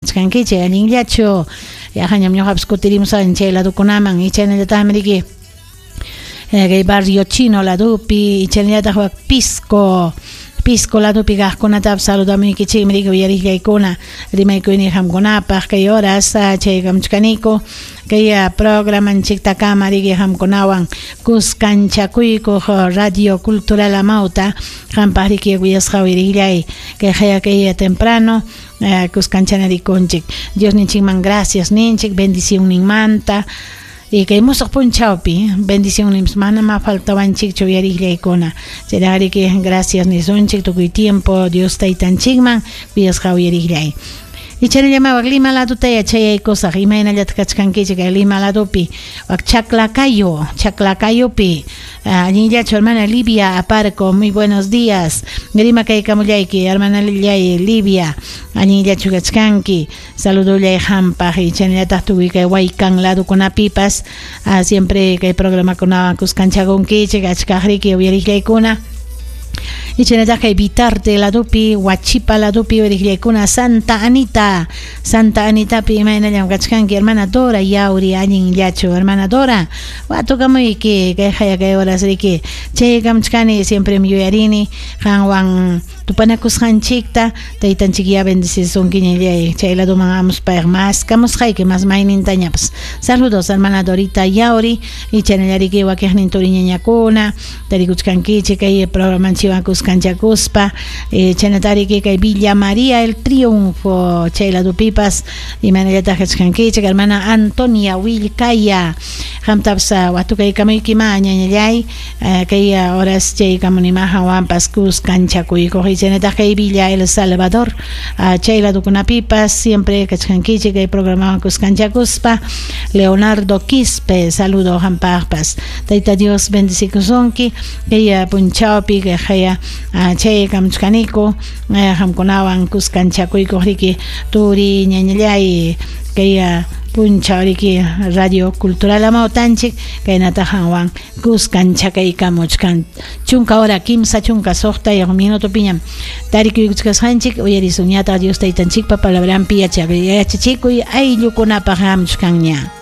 Kachkankichik allinllachu? Yaqañam ñuqapas kutirimusani chay ladukunaman y chaynallataqmi riki kay barrio chino ladupi y chaynallataq wak Pisco Pisco ladupi kaqkunatapas saludamuykichikmi riki uyariqllaykuna rimaykuyniy qamkunapaq kay horas chaykamuchkaniku kay programanchiktakama riki qamkunawan kuskanchakuykuq Radio Cultural Amauta qampaq riki kuyasqa uyariqllay kay qaya kay temprano Kuskanchanarikunchik. Diosninchikman gracias ninchik bendicionninmanta. Y kay musuq punchawpi bendicionninpas manamá faltawanchikchu uyariqllaykuna. Chayraqriki gracias nisunchik tukuy tiempo Dios taytanchikman kuyasqa uyariqllay. Y chaynallamá wak Lima ladutaya chayaykusaq imaynallataq kachkankichik kay Lima ladupi wak Chaclacayo, Chaclacayupi. Allinllachu hermana Livia Aparco, muy buenos días. Rimakaykamullayki hermana Livia, allinllachu kachkanki. Saludollay qampaq y chaynallataq tukuy kay Huaycan ladukunapipas siempre kay programakunawan kuskanchakunkichik achkaqriki uyariqllaykuna. Y chaynallataq kay Vitarte ladupi, Huachipa ladupi uyariqllaykuna Santa Anita, Santa Anitapi imaynallam kachkanki hermana Dora Yauri, allinllachu hermana Dora, watukamuyki kay haya kay horas riki chaykamuchkani siemprem yuyarini qanwan tupanakusqanchikta taytanchik ya bendecisunki ñallay chay laduman amuspayqa maskamusqayki mas maynintañapas. Saludos hermana Dorita Yauri y chaynallariki wakiqnin turiñañakuna tarikuchkankichik kay programanchikwan kuskanchakuspa chaynatariki kay Villa María el Triunfo chay ladupipas imaynallataq kachkankichik hermana Antonia Willkaya qamtapas watukaykamuykima ñañallay kay horas chaykamunima hawanpas kuskanchakuykuq y chaynataq kay Villa El Salvador chay ladukunapipas siempre kachkankichik kay programawan kuskanchakuspa Leonardo Quispe saludo qampaqpas Tayta Dios bendecikusunki kay punchawpi kay haya chaykamuchkaniku qamkunawan kuskanchakuykuq riki turi ñañallay kay punchaw riki Radio Cultural Amautanchik kaynataq qanwan kuskanchakaykamuchkan chunka hora kimsa chunka suqtayuq minutopiñam tarikuykuchkasqanchik uyarisunñataq Dios taytanchikpa palabranpi yachachikuy ayllukunapaq hamuchkanña.